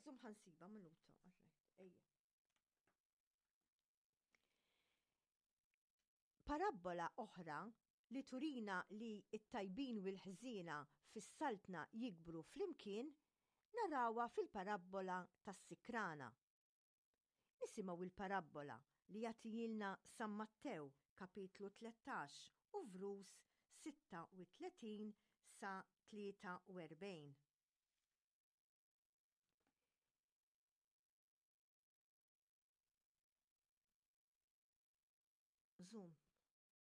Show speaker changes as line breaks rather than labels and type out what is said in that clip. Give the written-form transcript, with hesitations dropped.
Żomm ħa nsibha minuta. Ejja. Parabbola oħra li turina li t-tajbin u l-ħżiena fis-saltna jikbru flimkien narawha fil-parabbola tas-sikrana. Nisimgħu l-parabbola li jagħtihielna San Mattew kapitlu 13 u vrus 36 sa 43. Zoom.